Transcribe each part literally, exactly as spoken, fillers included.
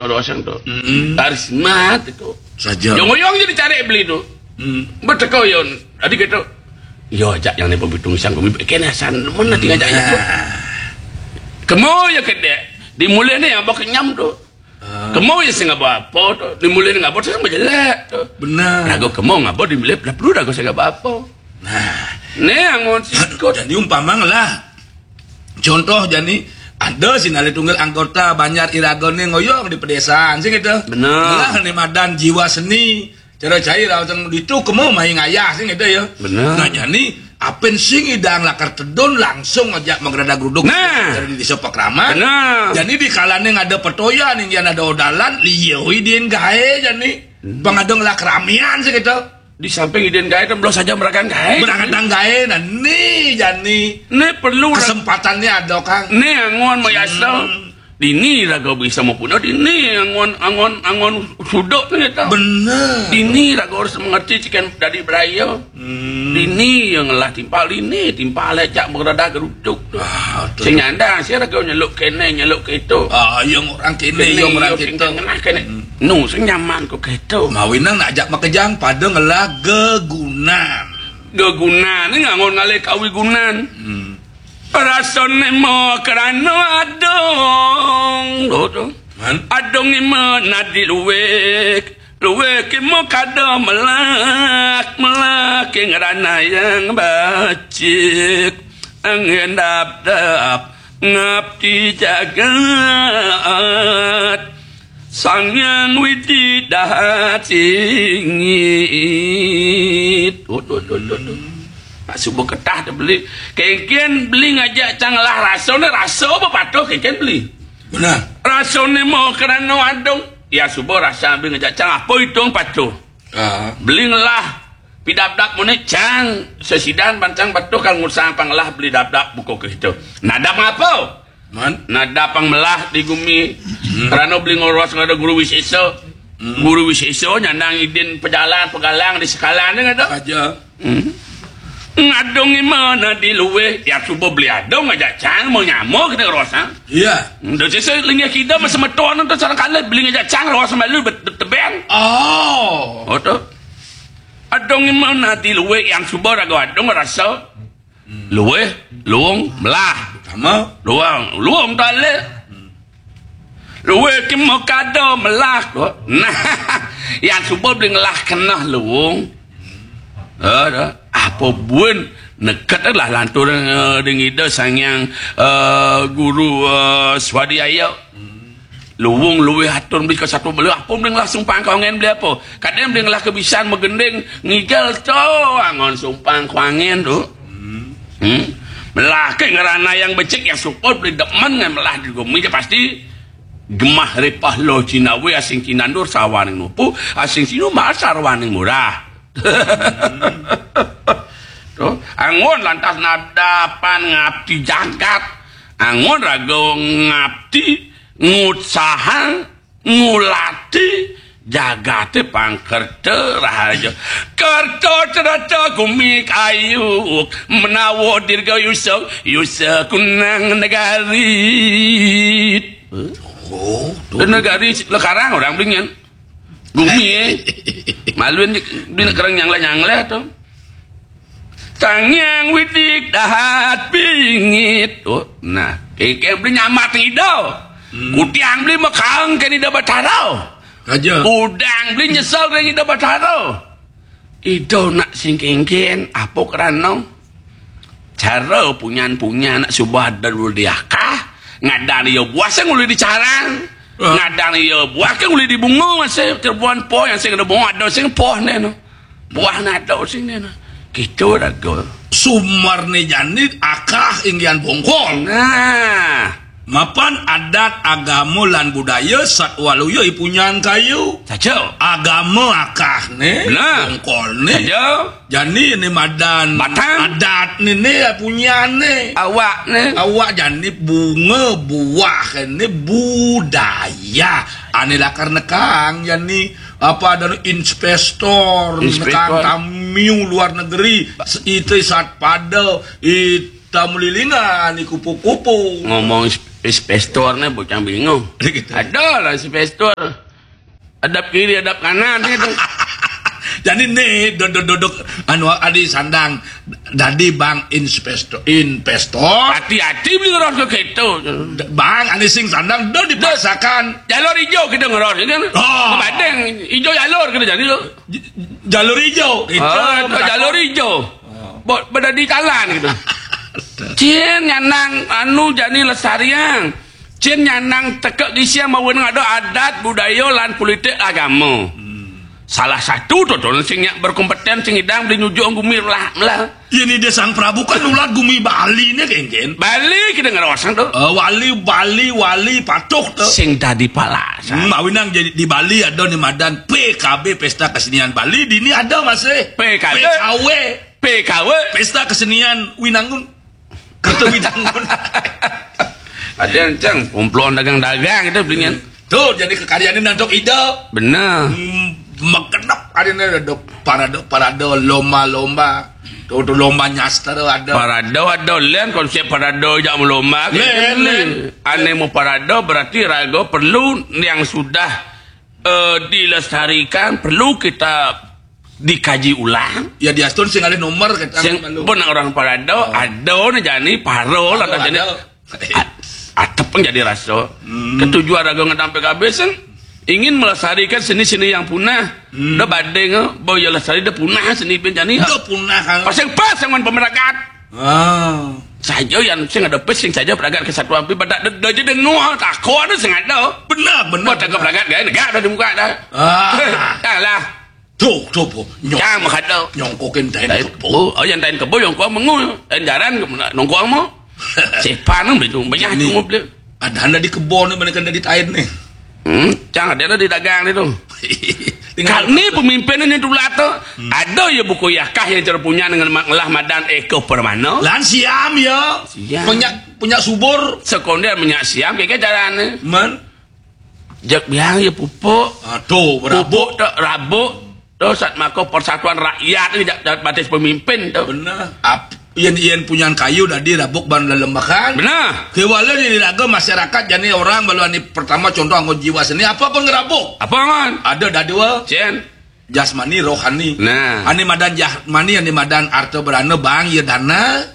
Rosang tu. Karismat itu. Saja. Yang oyong jadi cari beli tu. Berteko yon. Adi gitu. Yo, ajak yang ni pembitung sang kami kena san mana tinggal ajak itu. Kemo ya kedek. Dimulai ni abah kenyam tu. Kemo ya sing abah apa tu. Dimulai ni abah tu sama jelek tu. Benar. Lagu kemo ngabah dimulai dah perlu lagu sing abah apa. Nah, ni angon sikut. Jadi umpama lah. Contoh jani ada sinalih tunggal anggota Banjar Iraga ni ngoyong di pedesaan sing gitu. Benar. Lah ni madan jiwa seni. Cara cair awak itu kemo main ayah sing gitu ya. Benar. Nah, jani apen sing idang lakar tedun langsung aja menggerada geruduk. Nah. Dari di desa Pakraman. Benar. Jani di kalane ada petoya ning yang ada odalan liyo idin gae jani. Pengadong lah keramian sing gitu. Di samping idin gae kan belum saja merakan gae. Merakan gae nah ni jani. Ni perlu kesempatannya ada kang. Ni angon mayasa. Dini raga bisa mapuna dini angon angon angon suduk ni ta. Benar. Dini raga harus mengerti cikan dari beraya. Dini yang ngelah timpal dini timpal lecak berada geruduk tu. Ah, betul. Sing nyandang si raga nyeluk kene nyeluk keto. Ah, yang orang kene, yang orang kita. Kene. Nu sing nyaman ko keto. Mawinang nak ajak makejang pada ngelah gegunan. Gegunan ni ngangon ngalih kawigunan. Rasane mo kerana adong. Lho tu. Man? Adong ima nadi luwek. Luwek ima kada melak. Melak ing ranayang bacik. Angin dap-dap ngabdi jagat. Sang Hyang Widi dahat singit. Oh, tu, tu, tu, tu. Nak subuh ketah tu beli. Kengken beli ngajak cang lah rasa ni rasa apa patuh kengken beli. Benar. Rasa ni mau kerana adung. Ya subuh rasa beli ngajak cang apa hitung patuh. Ah. Beli ngelah. Pidap-dap muni cang. Sesidan pancang patuh kal ngusang panglah beli dap-dap buku ke situ. Nadap ngapa? Man? Nadap pang melah di gumi. Kerana beli ngoros ngada guru wisesa. Guru wisesa nyandang idin pejalan pegalang di sekalan ni ngada. Aja. Ngadung ima na di luweh, ya subuh beli adung aja cang mau nyamo kita rosang. Iya. Dah sisa lingah kita masa meton tu sarang kala beli aja cang ros malu bet-, bet-, teben. Oh. Oh tu. Adung ima na di luweh yang subuh raga adung rasa. Luweh, luung, melah. Sama. Luung, luung tak leh. Luweh ki mau kada melah ko. Nah, yang subuh beli ngelah kena luung. Eh, dah. Apa bun neket lah lantur eh, ding ida sang yang eh, guru eh, swadhyaya. Luung luwih atur beli ke satu beli apa beli ngelah sumpang kongen beli apa? Kadang beli ngelah kebisan megending ngigel to angon sumpang kongen tu. Hmm. Melah ke ngerana yang becik yang suput beli demen ngan melah di gumi je pasti gemah ripah lo cinawi asing cinandur sawaning nupu asing sinu mahal sarwaning murah. Tu, angon lantas nadapan ngabdi jagat. Angon raga ngabdi ngutsahang ngulati jagate pangkerta rahaja. Kerta cereta gumi kayu menawa dirga yusa yusa kunang negari. Oh, tu. Negari lekarang orang bingin. Gumi eh. Maluin di nak kerang nyanglah-nyanglah tu. Tangyang widik dahat bingit. Oh, nah, kengkeng beli nyamat ida. Hmm. Kutiang beli mekang ke ida batara. Aja. Udang beli nyesal ke ida batara. Ida nak sing kengkeng apa kerana cara punyan-punyan nak subah dan diakah ngadang dia buah sing uli dicarang. Ah. Ngadang dia buah ke uli dibunga masih terbuan po yang sing ada bunga ada sing poh ni no. Buah nado sini nah. Kita raga. Sumar ni jani akah inggian bongkol. Nah. Mapan adat agama lan budaya satwaluya ipunyan kayu. Saja. Agama akah ni, nah. Bongkol ni. Saja. Jani ni madan batang. Adat ni ni ipunyan ni. Awak ni. Awak jani bunga buah ni budaya. Ani lakar nekang jani apa ada investor, investor. Nekang tamiu luar negeri, itu sat pada, ita mulilingan, ni kupu-kupu. Ngomong Investor ni bocah bingung. Gitu. Ada lah investor. Hadap kiri, hadap kanan gitu. Jadi ni duduk-duduk anu adi sandang dadi bang investor, investor. Hati-hati beli ngeros ke gitu. Bang, adi sing sandang dah dipaksakan. Jalur hijau kita ngeros kan. Oh. Badeng hijau jalur kita jadi tu. J- jalur hijau. Gitu. Ah, jalur hijau. Oh. Buat berada di jalan gitu. Cin nyanang anu jani lestariang. Cin nyanang tekek gisiang mawen ada adat, budaya, lan politik agama. Hmm. Salah satu tu tu sing nyak berkompeten sing idang beli nyujuk gumi lah lah. Ya ni dia Sang Prabu kan ulat gumi Bali ni kengken. Bali kita ngerosang tu. Uh, wali, Bali, wali patuh tu. Sing dadi pala. Hmm, awinang jadi di Bali ada ni madan P K B Pesta Kesenian Bali, di ni ada masih. P K B. P K W. P K W. Pesta Kesenian Winangun. Kata Winangun. Ada yang cang, kumpulan dagang-dagang itu belinya. Tu jadi kekayaan ni nantok ida. Benar. Hmm, magenep hari ni ada parade-parade lomba-lomba. Tu tu lomba nyastra ada. Parade ada lain konsep parade jak melomba. Lain, lain. Ane mau parade berarti raga perlu yang sudah eh, dilestarikan perlu kita dikaji ulang. Ya diastun sing ada nomor kata sing pun orang parade ada ni jani paro lah jani. Atep pun jadi rasa. Hmm. Ketujuan raga ngadang P K B sing ingin melestarikan seni-seni yang punah. Hmm. Dah badeng, eh, boya lestari dah punah seni pun jani. Dah punah kan. Pasang pas dengan pemerakat. Ah. Saja yang sing ada pes sing saja peragat kesatuan pi pada dah je dengar takut ada sing ada. Benar, benar. Buat takut peragat gaya negara dah dibuka dah. Ah. Dah lah. Tu, tu po. Nyong. Cang makata. Nyongkokin tain kebo. Oh, yang tain kebo nyongkok mengu. Tain jaran nongkok mau. Sepan nang betul banyak tu mau beli. Ada anda di kebo ni mana kena di tain ni. Hmm, cang ada di dagang ni tu. Kami pemimpin ni tulah tu. Hmm. Ada ya buku yakah yang terpunya dengan ngelah madan eko permana. Lan siam ya. Siam. Punya punya subur. Sekonder punya siam kaya jalan ni. Man. Jak biang ya pupuk. Aduh, berabuk. Pupuk tak rabuk. Tu sat maka persatuan rakyat ni jak batis pemimpin tu. Benar. Ap, yen yen punyan kayu tadi rabuk ban lelembakan. Benar. Kewala ni raga masyarakat jani orang balu ani pertama contoh anggo jiwa seni apa pun ngerabuk. Apa man? Ada dadua. Cien. Jasmani rohani. Nah. Ani madan jasmani ani madan arta berana bang ya dana.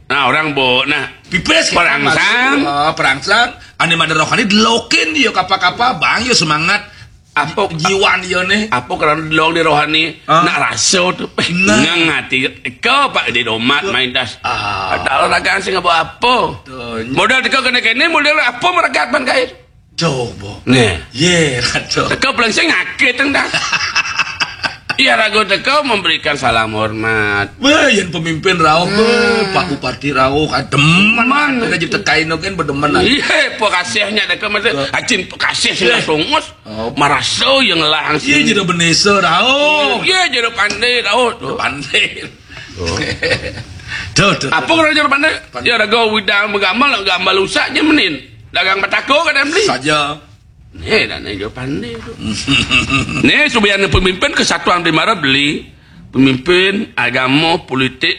Nah, orang bo nah. Pipis perangsang. Oh, perangsang. Ani madan rohani delokin ya kapa-kapa bang ya semangat. Apa jiwa dia ni? Apa kerana delong di rohani? Ah. Nak rasa tu. Nah. Ngang hati. Kau pak di domat main das. Ah. Ada orang kan sing apa apa. Modal teka kena kena modal apa meregat ban kait. Coba. Nih. Ye, kata. Teka pelangsing ngakit tang dah. Iya ragu teka memberikan salam hormat. Wah, yang pemimpin rauh, wah. Pak Bupati rauh, ah, demen. Mana je tekai no kan berdemen lah. Iya, apa kasihnya teka masa. Acin kasih sing sungus. Oh. Marasa yang langsung. Iya jadi benesa rauh. Iya jadi pandai rauh. Pandai. Tuh, tuh. Apa kerana jadi pandai? Pandai. Ya raga widang menggambar, gambar usak je menin. Dagang batako kadang beli. Saja. Ni dah ni je pandai tu. Ni subian pemimpin kesatuan di mara beli. Pemimpin agama, politik,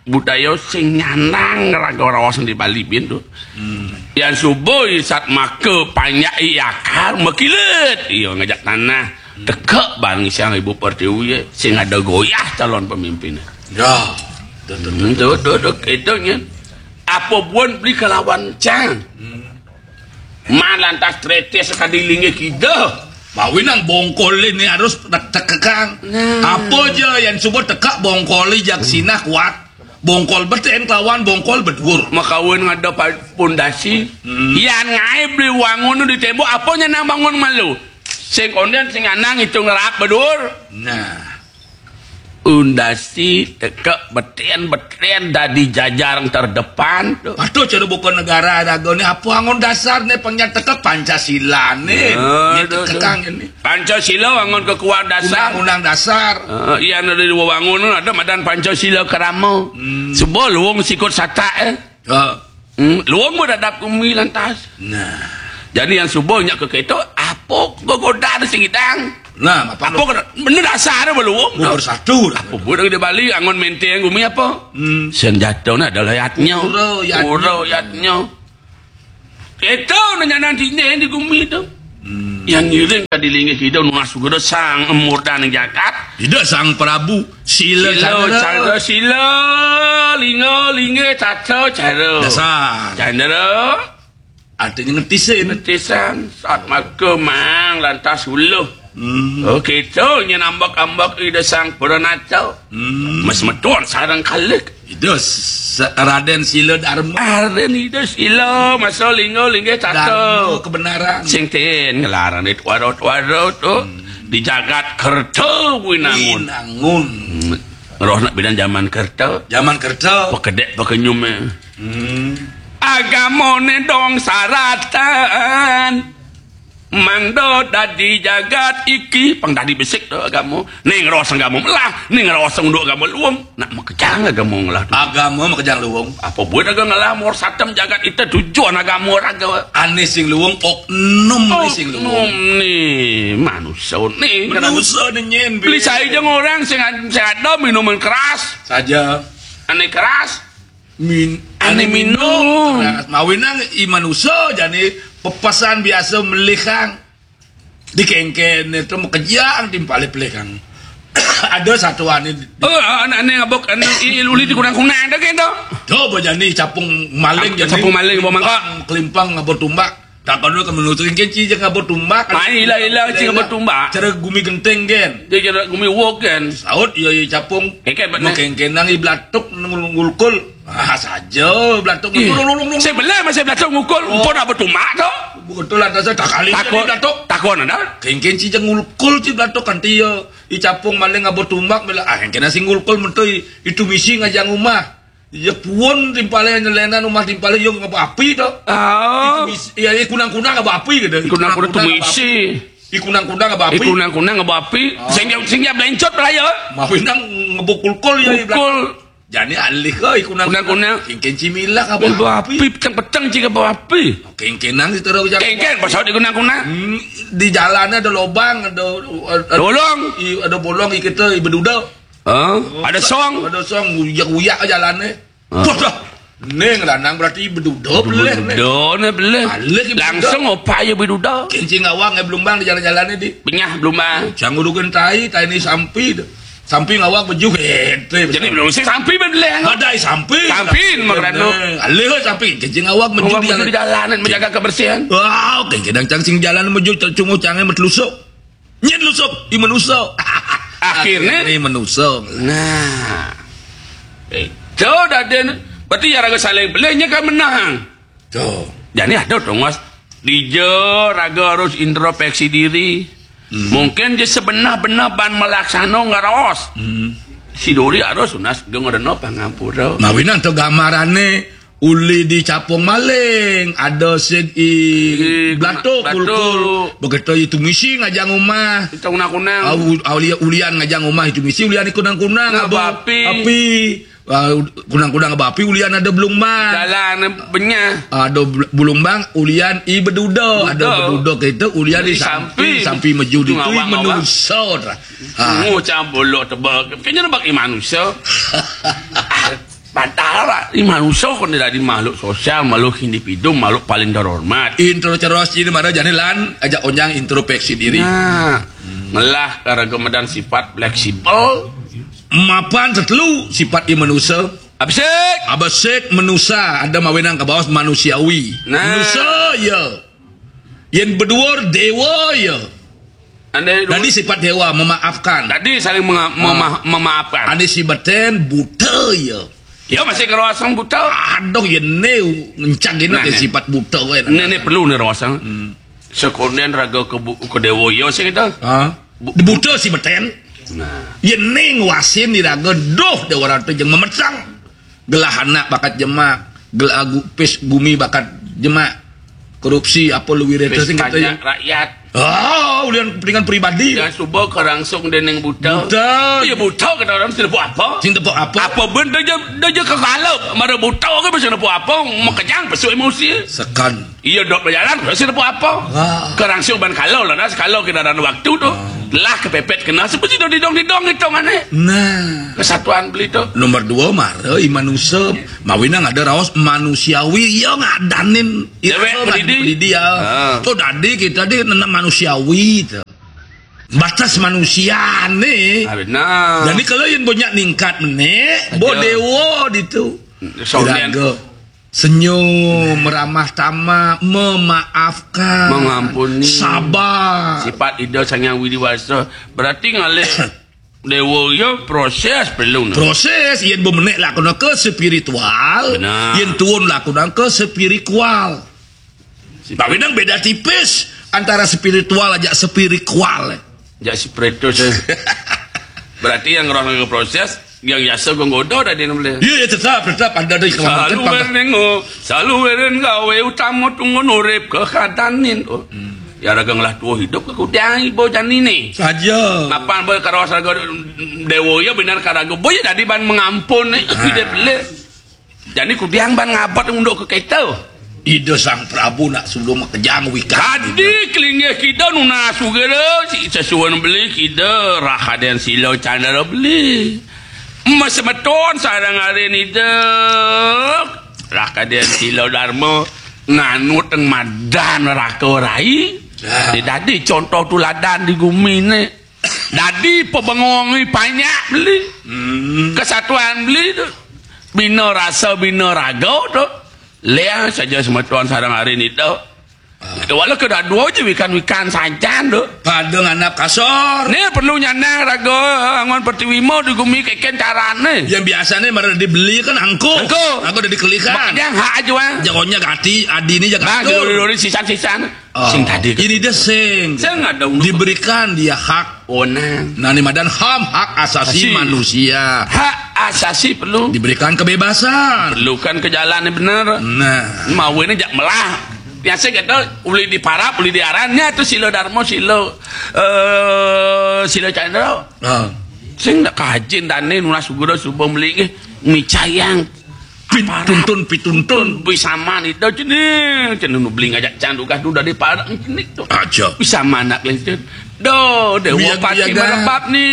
budaya sing nyanang raga raos di Bali bin tu. Hmm. Yang subuh isat maka panjak i akar makilit. Iya ngajak tanah. Tekak bang siang ibu pertiwi sing ada goyah calon pemimpin. Ya. Tu tu tu. Hmm, tu tu tu itu nya. Apa pun beli kelawan cang. Hmm. Man lantas tretes sekali lingi kida. Bawi nang bongkol ini harus tek-, tekekang. Nah. Apa je yang subuh tekak bongkol jak sinah kuat. Bongkol beten kelawan bongkol bedur. Makawin ngada pa-, pondasi. Hmm. Yan ngai beli wangun di tembok, apa nya nang bangun malu? Sing konden sing anang itu ngerap bedur. Nah. Undasi tekek beten-beten dadi jajar terdepan tu. Aduh, cara buka negara raga ni apa angon dasar ni pengnya tekek Pancasila ni. Ah, ni tu, tu. Tekekang ni. Pancasila angon kekuatan dasar. Undang-undang dasar. Ah, iya ada di wangun ada madan Pancasila kerama. Hmm. Sebab luung sikut satak eh. Ha. Hmm, luang mo dadap kumi lantas. Nah. Jadi yang subuh nya ke kereta, apa gogoda sing idang? Nah, apa apa kena benda dasar dia beluang. Bersatu dah. Apa budak di Bali angon menteng kumi apa? Hmm. Senjata ni adalah yatnya. Ura yatnya. Ura yatnya. Kéto nyanan dini di gumi to. Hmm. Yang ngiring ka di linggih Ida nunas Ida Sang Murdaning Jagat. Ida Sang Prabu Sila Sila Candra. Candra Sila, Lingga Linggih Tata Cara. Dasar. Candra. Artinya ngetisin. Ngetisan, saat maga mang lantas uluh. Hmm. Oh, kéto nyén ambek-ambek Ida Sang Pranata. Hmm. Mas metuan sareng kalih. Ida S-, Raden Sila Dharma. Raden Ida Sila, masa Lingga Linggih Tata. Dharma kebenaran. Sing ten ngelarang di tuara-tuara to. Hmm. Di jagat kerta winangun. Winangun. Hmm. Roh nak bidan zaman kerta. Zaman kerta. Pekedek pekenyum, eh. Hmm. Agamane dong saratan. Mangda dadi jagat iki, pang dadi besik to agama. Ning rasa agama melah, ning rasa unduk agama luung. Nak makejang agama ngelah to. Agama makejang luung. Apa buat agama ngelah mur satem jagat ita tujuan agama raga. Ane sing luung, oknum ni sing luung. Oknum ni, manusia ni. Manusia ni nyen, beli saya jeng orang sing ad-, sing ada minuman keras. Saja. Ane keras. Min-, ane minum. Mawinan i manusa jani pepesan biasa melihang. Di kengken itu makejang timpale pelihang. Ada satu ane di-, oh, anak ane ngabok, ane i-, uli di kunang-kunang dah gitu. Tuh, bajani capung maling jani. Capung maling, bawa mangkok. Kelimpang, ngabok tumbak. Takon lu ke menurut kengken ci jeng ngabok tumbak. Mai ilah-ilah ci ngabok tumbak. Cara gumi genteng, gen. Dia cara gumi wok, gen. Saut, iya, iya, capung. Kengken, bener. Mau kengkenang i belatuk, ngul-, ngulkul. Ah, saja belatuk. Ih, ngulkul, ngulkul, ngulkul. Saya belah masih belatuk ngukul. Oh. Empun apa tumbak tu? Betul ada saya tak kali takon, jadi belatuk. Takon ada? Kengken ci jeng ngulkul ci belatuk kanti ya. I capung maling ngabok tumbak, bela, ah, kengken si ngulkul mentui. Itu misi ngajang rumah. Ya puun timpale nyelenan rumah timpale ya ngabok api tu. Ah. Itu misi, ya, ya kunang-kunang ngabok api gitu. Kunang-kunang tu ngabok misi api. I kunang-kunang ngabok api. I kunang-kunang ngabok api. Ah. Sing dia, sing dia belencot lah ya. Mawinan ngabok kulkul ya, i belakang. Kulkul. Jani alih ke i kunang-kunang. Kunang-kunang. Kengken ci milah ngabok api. Peteng-peteng ci ngabok api. Kengkenang di terus jalan. Kengken, pasal di kunang-kunang. Hmm, di jalannya ada lubang, ada, ada bolong. I, ada bolong, i kita, i beduda. Hah? Ada song. Ada song, uyak-uyak jalannya. Ah. Wah, dah. Ning lanang berarti beduda beleh, ning. Beduda ne beleh. Alih beduda. Langsung opak ya beduda. Kengken ngawang, eh, belumbang di jalan-jalan ni, di. Benyah belumbang. Jangan urugan tai, tai ni sampi tu. Sampi ngawang baju, eh, tu. Jadi belum si sampi beleh. Badai sampi. Sampi, makan tu. Alih sampi, kengken ngawang baju di jalan. Ngawang baju di jalan, menjaga kebersihan. Wah, kengken cang sing jalan baju, cunguh cangai metelusuk. Nyen lusuk, i manusa. Akhirnya? Akhirnya manusa. Nah. Eh, tu dah dia. Berarti ya raga saling pelihnya kan menang. Tu. Jadi ada tu, Mas. Dija raga harus introspeksi diri. Hmm. Mungkin dia sebenar-benar ban melaksana ngaros. Hmm. Si duri harus tunas dia ngerena pangampura. Mawinan tu gambarane. Uli di capung maling, ada sing i belatuk, kulkul. Begitu itu misi ngajang rumah. Kita kunang-kunang. Ah, u-, ah, ulian, ulian ngajang rumah itu misi, ulian i kunang-kunang, ngabok api. Api. Ah, kunang-kunang ngabok api, ulian ada belumbang. Jalan benyah. Ada bel-, belumbang, ulian i beduda. Ada beduda kita, ulian i sampi, sampi meju di tu, i manusa. Ah. Ngucap bolok tebak. Kayaknya nampak i manusa. Padahal, Pak, i manusa kan dadi makhluk sosial, makhluk individu, makhluk paling terhormat. Intro ceros ini mara jani lan ajak onjang introspeksi diri. Nah, ngelah karaga medan sifat fleksibel. Mapan setelu sifat i manusa. Abesik. Abesik manusa, ada mawinan ka bawah manusiawi. Nah. Manusa, ya. Yen beduur dewa, ya. Ane dadi sifat dewa memaafkan. Dadi saling menga-, mema-, memaafkan. Ane si beten buta ya. Ya masih karo asang buta. Aduh, ya ne ngencang gini. Nah, ke ne. Sifat buta kowe. Ne, ne perlu ne rawasang. Hmm. Sekonden raga ke bu-, ke dewa ya sing itu. Ha? Bu-, buta si beten. Nah. Ya ne nguasin di raga, duh, dewa ratu jeung memetang. Gelah anak bakat jemak, gelah gu-, pis gumi bakat jemak. Korupsi apa luwih reta sing kata ya? Rakyat. Ah, ulian kepentingan pribadi. Jangan suba karangsung dening buta. Buta. Ya buta kata orang sing tepuk apa? Sing tepuk apa? Apa ben dia je, dia je kekala. Mara buta ke bisa tepuk apa? Makejang besuk emosi. Sekan. Iya dok berjalan, sing tepuk apa? Wah. Karangsung ban kalau lah, dah sekala kita ada waktu tu. Ah. Lah kepepet kena seperti didong-didong hitungannya. Nah. Kesatuan beli tu. Nomor dua, mara i manusia. Mawinan ada raos manusiawi, iya ngadanin. Dewek iya, pendidik. Pendidik, ya. Ha. Tu dadi kita di nana manusiawi tu. Batas manusia ni. Ah, benar. Jadi kalau yang banyak ningkat menek, bo dewa ditu. Soalnya senyum, ramah tamah, memaafkan, mengampuni, sabar. Sifat Ida Sang Hyang Widi Wasa. Berarti ngalih dewa ya proses perlu, nah. Proses, yen bemenek lakonanka spiritual, benar, yen tuun lakonanka spiritual. Tapi nang beda tipis antara spiritual aja spiritual. Jak spiritus, eh. Berarti yang roh nang proses, yang biasa gonggodo tadi nang boleh. Iya, iya, tetap, tetap ada di selalu kelamaan. Selalu gawe utama tunggu urip kekadanin. Oh. Hmm. Ya raga ngelah tua hidup ke kudiang ibu jani ni. Saja. Mapan boy karawas raga dewa ya benar karaga boy ya dadi ban mengampun ni. Ah. Hidup le. Jani kudiang ban ngabat unduk ke kita. Ida Sang Prabu nak sebelum makejang wikan. Kadi kelinggih kita nunas ugera si sesuan beli kita Rahaden Silo Chandra beli. Mas semeton sarang arin ida. Rahaden Silo Dharma nganut teng madan raka rai. Ya. Dia dadi contoh tuladan di gumi ni. Dadi pebengong ni panjak beli. Hmm. Kesatuan beli tu. Bina rasa, bina raga tu. Leh saja semeton sarang hari ni tu. Ah. Walau kedua-dua je wikan-wikan sajan tu. Pada nganap kasar. Ni perlu nyanang raga angon pertiwi mau di gumi keken carane. Yang biasa ni mara dibeli kan angko. Angko. Angko dah dikelikan. Mak yang hak aja, ah. Jagonya gati, adi ni jaga. Nah, dori-dori sisan-sisan. Oh. Sing tadi. Ini dia sing. Sing ada unduk. Diberikan dia hak. Onang. Nah, ni madan ham, hak asasi manusia. Hak asasi perlu. Diberikan kebebasan. Perlukan ke jalan yang benar. Nah. Mau ini jak melah. Biasa kata, boleh diparap, boleh diarannya tu sila dharma, sila, eh, sila chandra. Ah. Sing nak kajin dane nunas guru subuh melingih. Micayang. Pituntun, pituntun. Bisa mani dah jenih. Jenih nu beli ngajak cang dugah tu dari parak jenih tu. Aja. Bisa manak lintin. Do, dewa pati merebab ni.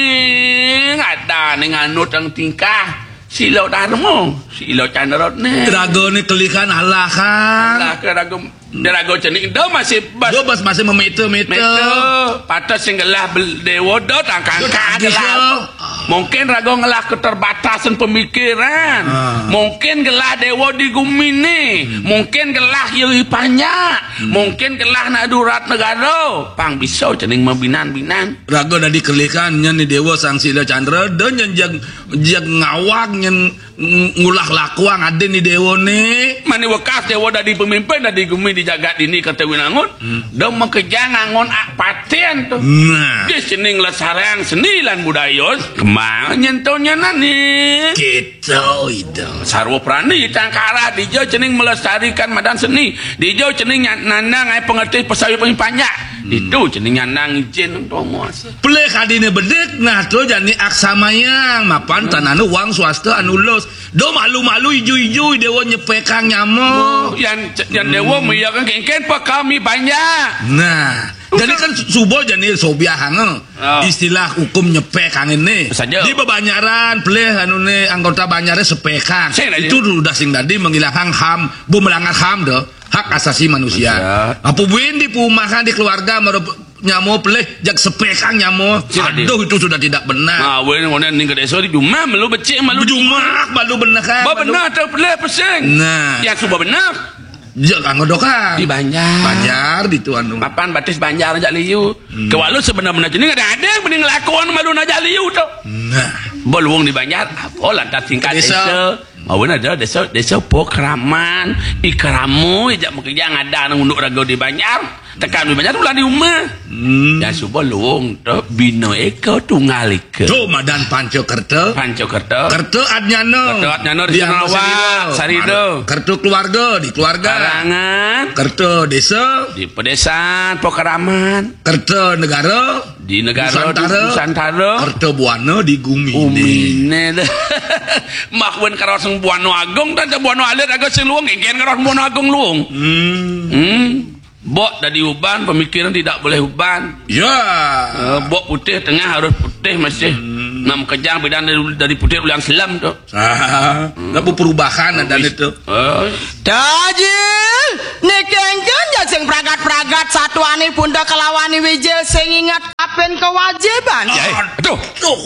Ada ni nganut yang tingkah. Silo dharma. Silo candra ni. Raga ni kelihan Allah kan. Allah ke raga. Dia raga cenik. Do masih bas. Do bas masih memeta-meta. Meta. Patut sing gelah dewa do tangkang gelah. Mungkin raga ngelah keterbatasan pemikiran. Ah. Mungkin gelah dewa di gumi ni. Hmm. Mungkin gelah yeri panjak. Hmm. Mungkin gelah nak durat negara. Pang bisa cening mabinan-binan. Raga dah dikelikan nyen ni dewa sang sila candra. Do nyen jeg, jeg ngawag nyen ng-, ngulah lakuang adin ni dewa ni. Mani wekas dewa dadi pemimpin dadi gumi di jagat ini kata winangun. Hmm. Do makejang angon ak paten tu. Nah. Di seni ngelesarang seni lan budaya kembang nyentuh nyenan ni. Kita itu. Sarwa prani tangkara dija cening melestarikan madan seni. Dija cening nyanang ai pengerti pesawi panjak. Hmm. Itu cening nyanang izin Pelih kadine bedik, nah tu jani aksamayang, mapan tanah nu wang swasta anu lus. Do malu-malu iju-iju dewa nyepekang nyama. Oh, yan, yan dewa meyakan kengken pa kami banyak. Nah, jadi kan suba jani sobiah hanga. Ah. Istilah hukum nyepekang ini. Saja. Di bebanyaran, pelih anu ni anggota banyaran sepekang. Itu sudah sing tadi menghilangkan ham, bu melanggar ham dah. Hak asasi manusia. Manusia. Apa buin di perumahan, di keluarga, mara nyama pelih, jag sepekang nyama. Aduh, itu sudah tidak benar. Nah, weh, ngonen ning ke desa di jumah, malu becik, malu jumah, malu benar kan? Ba benar atau pelih pesing? Nah. Yang suba benar. Jag anggo dokan. Di Banjar. Banjar, di tuan tu. Mapan batis Banjar ajak liu. Hmm. Kewalu sebenar-benar jenis ada-ada yang mending lakuan malu najak liu tu. Nah. Beluang di Banjar, apa lantas tingkat desa. Desa. Mawen ada desa, desa Pokraman, Ikramo, ijak makejang ada nang unduk raga di Banjar. Tekan di Banjar ulah di rumah. Hmm. Ya suba luung tu bina eka tunggal eka. Tu madan panca kerta. Panca kerta. Kerta adnyana. Kerta adnyana di Sinarawak, Sarida. Kerta keluarga di keluarga. Karangan. Kerta desa. Di pedesan, Pokraman. Kerta negara. Di negara Nusantara. Nusantara. Kerta buana di gumi. Gumi ni dah. Mak wen karo sing buana agung, dan buana alit agung sing luung, kengken karo buana agung luung. Hmm. Hmm. Bok dadi uban, pemikiran tidak boleh uban. Ya. Eh, bok putih tengah harus putih masih. Hmm. Nak makejang bidan dari, dari putih ulian selam tu. Ah, hmm. Nak perubahan ada itu. Eh. Tajil, ni kengken ja sing pragat-pragat satuane pun dah kelawan ni Wijil sing ingat apen kewajiban. Ya, ya. Aduh. Tuh.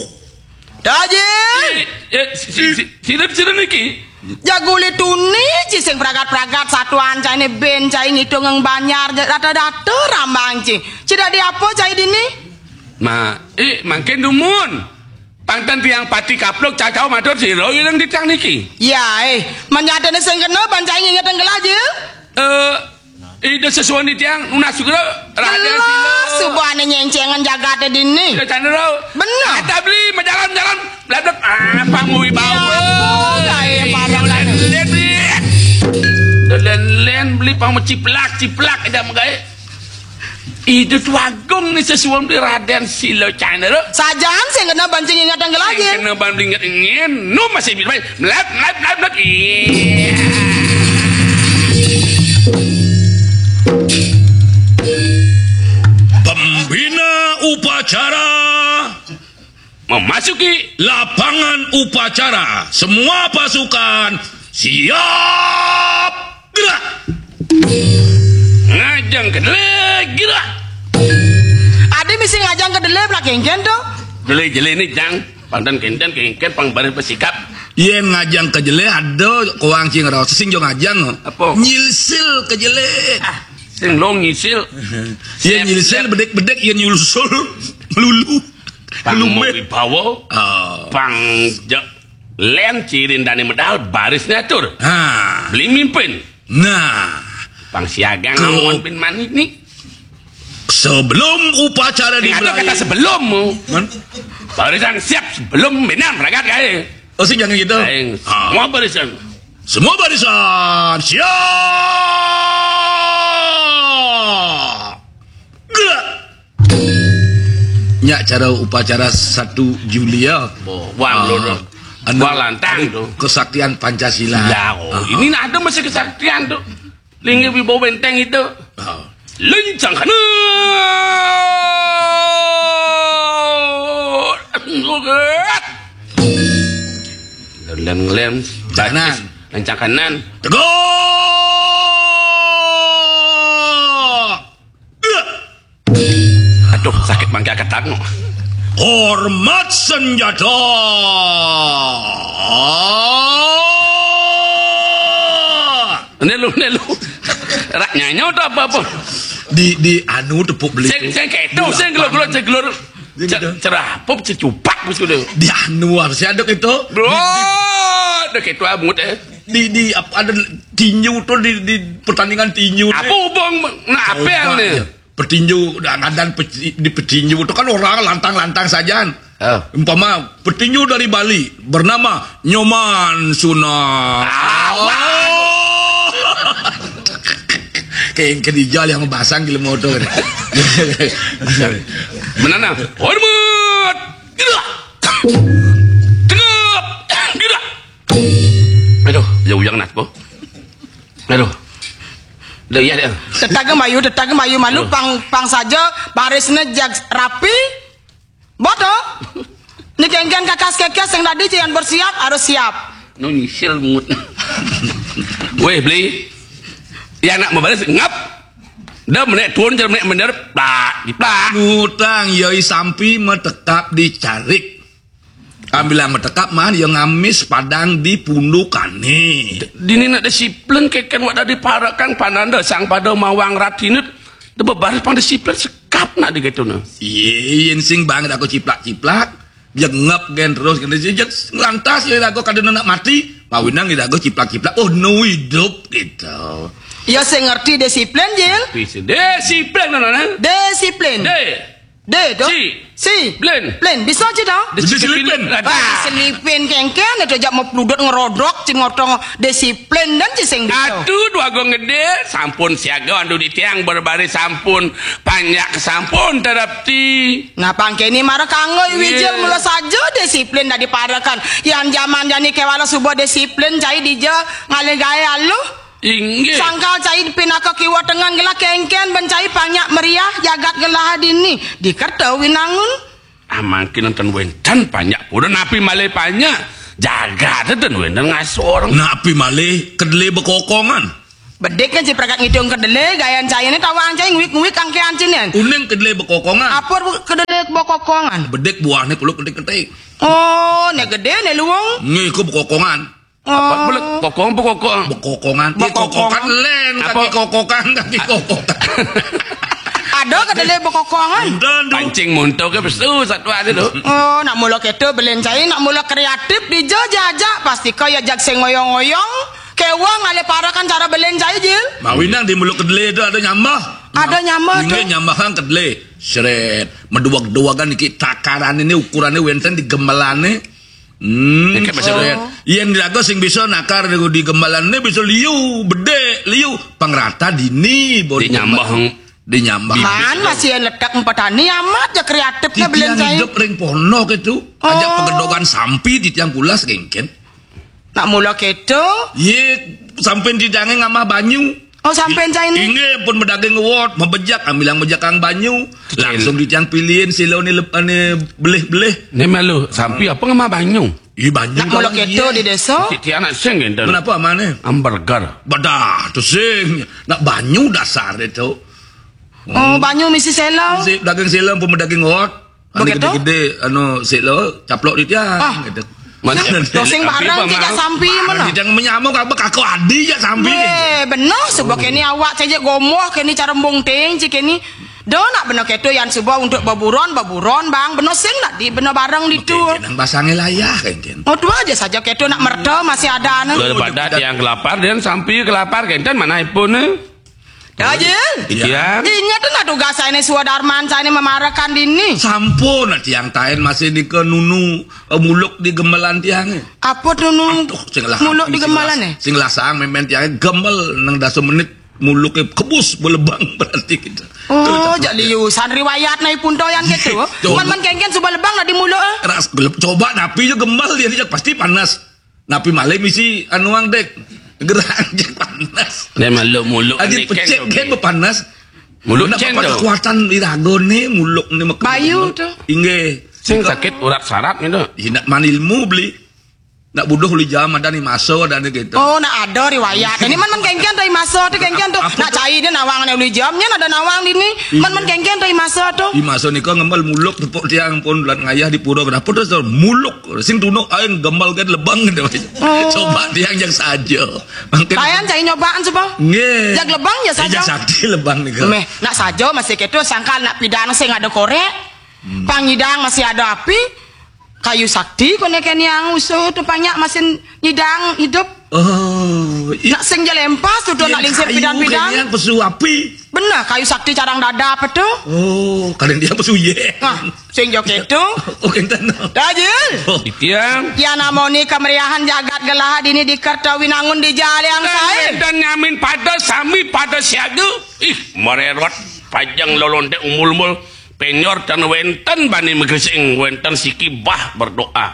Tajil. Eh, eh, si, si, si, sira, sira niki. Jagule tuni ci sing pragat-pragat satuan caine ben cai ngitung ing banjar ja-, data-data rambang ci. Ci dadi apa cai dini? Ma, eh, mangkin dumun. Pangten tiang pati kapluk cacau matur sira ireng titiang niki. Ya, eh, menyatene sing kena ban cai nginget engkel aja. Eh, Ida sesuai ni tiang nunas juga Raden Jelas Sila. Subane nyencengan jagate dini. Sila Candra. Bener. Ada beli majalan-jalan. Blabla. Ah, pang mau wibawa. Ya, apa, gawe para dolen-len beli. Dolen-len beli pang mau ciplak-ciplak ida megai. Ida tu agung ni sesuai beli Raden Sila Candra. Sajan sing kena bancing ingat yang lagi. Sing kena ban beli ingat ingin. Nu masih beli. Melap, melap, melap, melap. Iya. Pembina upacara memasuki lapangan upacara. Semua pasukan siap gerak. Ngajeng kedele gerak. Ade mesti ngajeng kedele pula kengken tu. Jele-jele ni jang. Pantan kenten kengken pang bareng pesikap. Yen ngajeng kejele ada koang cing raos sing jo ngajeng. Apa? Nyilsil kejele. Ah, sing lo ngisil. Yen nyilsil bedek-bedek yen nyulsul melulu. Pang Lumbe. Mau wibawa. Oh. Pang ja-, len cirin dane medal baris natur. Ha. Beli mimpin. Nah. Pang siaga ke- ngawon pin manik ni. Sebelum upacara dimulai. Ada kata sebelum. Man? Barisan siap sebelum minam ragat kae. Oh, sing jangan gitu. Aing, ah. Semua barisan. Semua barisan siap. Gerak. Nyak cara upacara satu Juli ya. Bo, wang ah, dulu. Anu, wang lantang anu, tu. Kesaktian Pancasila. Ya, oh, ah, ini ada masih kesaktian tu. Linggih wibawa benteng itu. Ah. Lencang kanan. Lem, lem, lem. Kanan. Lencang kanan. Tegak. Aduh, sakit mangga ketak no. Hormat senjata. Nelu, nelu. Rak nyanyo tu apa-apa. Di, di anu tepuk beli. Sing, sing ketu, sing gelur-gelur, sing gelur. Dia ce-, gitu. Cerah, pop cecupak mesti tu. Di anu harus ada ketu. Bro, ada ketu amut eh. Di, di apa, ada tinju tu di, di pertandingan tinju. Apa hubung nak apel ni? Ya. Petinju, ngadan peci-, di petinju tu kan orang lantang-lantang sajan. Ah. Umpama petinju dari Bali bernama Nyoman Sunak. Awak. Oh. Kayak yang kedijal yang basang gila motor. Menanam. Hormat. Gerak. Tegap. Gerak. Aduh, ya uyang nak po. Aduh. Dah iya dah. Tetaga mayu, tetaga mayu malu. Aduh. Pang, pang saja barisnya jag rapi. Boto. Ni kengken kakas kekes yang tadi yang bersiap harus siap. No nyisil mut. Weh, beli. Ya nak membalas ngap. Dah menek tuan je menek bener. Plak, diplak. Ngutang yoi sampi metekap dicarik. Ambilang metekap mah ya ngamis padang di pundukane. Dini nak disiplin keken wak dadi parakan pananda sang pada mawang ratinut. Dia bebaris pang disiplin sekap nak digetuna. Iye, yen sing banget aku ciplak-ciplak. Dia ngep gen terus kena jejak lantas ya aku kada nak mati. Pawinang dia aku ciplak-ciplak. Oh, no hidup gitu. Ya sing ngerti disiplin, Jil. Disiplin, nana. Disiplin. De. De, tu? Si. Si. Plin. Plin. Bisa je, tu? Bisa selipin. Ah, selipin kengken, itu jak mau peludut ngerodok, cin ngotong disiplin dan ci sing bisa. Atu dua gong gede, sampun siaga, andu di tiang berbaris sampun, panjak sampun terapti. Nah, pangkeni marah kanggo, iya. Wijil mula saja disiplin dari parakan. Yang zaman jani kewala subuh disiplin, cai dija ngalih gaya aluh. Inggih. Sangkal cai pinaka kiwa tengen gelah, kengken ben cai panjak meriah jagat gelah dini di Kerta Winangun. Ah, mangkin ten wenten panjak pura, napi malih panjak? Jagat ten wenten ngasor. Napi malih kedele bekokongan? Bedik kan si pragat ngitung kedele, gayan cai ne tawang cai nguik-nguik angkean cinen. Uning kedele bekokongan. Apa kedele bekokongan? Bedik buahne peluk ketik-ketik. Oh, ne gede, ne luung. Ngiku bekokongan. Apa? Oh. Peluk kokong, bekokong. Bekokongan. Ih, bekokongan. Kokokan len, apa? Kaki kokokan. Ada kedele bekokongan. Enten, tu. Pancing montok ke pesu satwa tu, tu. Oh, nak mula keto belen cai, nak mula kreatif dija jajak, pasti kaya jag sing ngoyong-ngoyong. Kewang ale parakan cara belen cai, Jil. Mawinang di mula kedele tu ada nyambah. Ada nyambah tu. Inggih, nyambahang kedele. Sret. Meduag-duagan iki takaran ini, ukurannya wenten di gemelane. Hmm, Iki masih sret. Oh. Yen raga sing bisa nakar di gemelane bisa liu, bedek, liu, pangrata dini, baru dinyambah. Dinyambah. Man, masih letak petani amat ya kreatifnya belen cai. Titiang hidup ring pondok itu. Ajak Oh. Pegedogan sampi titiang pulas kengken. Nak mula keto? Ye, sampen tidange ngamah banyu. Oh, sampen cai ni? Inggih, pun medaging uwot, mebejak, ambilang mejakang banyu. Kecil. Langsung titiang pilihin silo ni lep-, ni belih-belih. Ni malu, sampi apa ngamah banyu? Ih, banyu. Nak mula kawan keto dia. Di desa? Titiang nak sing kenten. Kenapa amane? Hamburger. Badah, tu sing. Nak banyu dasar dia tu. Oh, banyu misi selo. Misi daging silo pun medaging uwot. Anu Begitu? Gede-gede, anu, sik lo, caplok di tiang, Ah. Gitu. Mana? Dosing bareng, Apa, cek Mang? Sampi, mana? Di tiang menyamuk, apa, kaku adi, ya, sampi. Weh, bener, sebab kini awak, cek gomoh, kini cara embung ting, cek kini. Do nak bener keto yang suba untuk beburon, beburon, bang. Bener sing nak di, bener bareng di tu. Oke, nang basangnya layah, kan, kan. Oh, dua aja saja keto nak merta, masih ada, anu. Daripada tiang kelapar, dan sampi kelapar, kan, mana pun, eh? Ya, Jil. Iya. Ingat tu nak tugas saya ni, Suadarman saya ni memarakan dini. Sampun, nak tiang tain masih di ke nunu, eh, muluk di gemelan tiang, eh. Apa tu nunu Aduh, sing lah muluk api, di sing gemelan, lah, eh? Sing lah sang memen tiang gemel nang dasa menit muluk, eh, kebus belebang berarti kita. Oh, Terus jak liusan riwayat nai punto yang gitu. Coba. Man, man kengken suba lebang nak di muluk, eh? Ras gelep, coba napi je gemel dia, dia pasti panas. Napi malih misi anu ang, Dek? Gerang je panas. Dia malu muluk Adi ni pecik kan, kan bepanas. Muluk nak cen apa tu. Kekuatan irago ni, muluk ni mek-, Bayu tu. Inggih. Sing sakit urat saraf ni tu. Ina man ilmu beli. Nak buduh uli jam ada ni masa ada ni gitu. Oh, nak ada riwayat. Ini man, man kengken tu masa tu kengken tu. Apa Nak tu? Cai dia nawang ni uli jam, nya ada nawang di ni. Iya. Man, man kengken tu masa tu. Di masa ni kau ngembal muluk tepuk tiang pun bulan ngayah di pura kenapa tu muluk. Sing tunuk aing gembal kan lebang gitu. Oh. Coba tiang yang saja. Mangkin Kayan cai nyobaan suba. Nggih. Jag lebang ya Eh, saja. Jag sakti lebang nika. Meh, nak saja masih keto sangkal nak pidang sing ada korek. Hmm. Pangidang masih ada api. Kayu sakti kone kene yang usuh tu banyak masih nyidang hidup. Oh, i- Nak sing jalempas tu, tu nak Yang lingsir kayu pidang-pidang. Kene yang pesu api. Benar, kayu sakti carang dada apa tu? Oh, kadang dia pesu ye. Nah, sing joget tu. Oh, kenten. Dajil. Oh. Tiang. Ya namoni kemeriahan jagat gelah dini di Kerta Winangun di Jaliang Sae. Dan nyamin pada sami pada siaga. Ih, mererot pajang lolonte umul-umul. Penyor tan wenten bani megesing, wenten siki bah berdoa.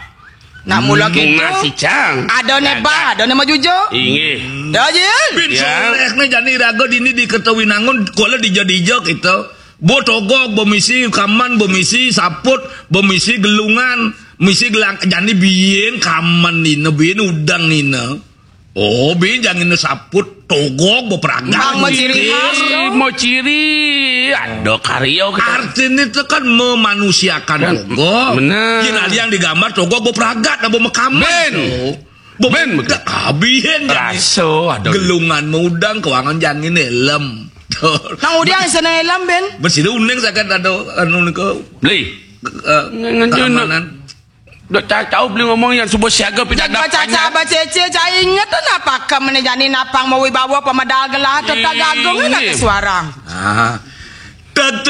Nak mula Hmm, gitu. Nasi cang. Ada ne bah, ada ne majujuk. Inggih. Dajil. Bin Ya. Soleh ne jani raga dini di Kerta Winangun, kuala dija-dija kita. Bo togog, bo misi kaman, bo misi saput, bo misi gelungan, misi gelang, jani biyen kaman nina, biyen udang nina. Oh, bin jangin saput togog bo pragat. Bang, mau ciri khas. Ih, mau ciri. Ada karya kita. Artinya itu kan memanusiakan Kan, togog. Benar. Yen ada yang digambar togog bo pragat, bo mekamen. Ben. Bo Ben, betul. Abihen jangin. Raso ada. Gelungan mudang kewangan jangin helm. Nang udiang isana helm, Ben. Bersih uning sakat ada anu nika. Beli. Eh, Ngan-, ngan-, keamanan. Dok ca-, cau beli ngomong yang subuh siaga pindah Jaga caca bacece, cai inget tu napa ke mene jani napang mawi bawa pemedal gelah tu tak gagung nak ke suarang. Ah. Tet-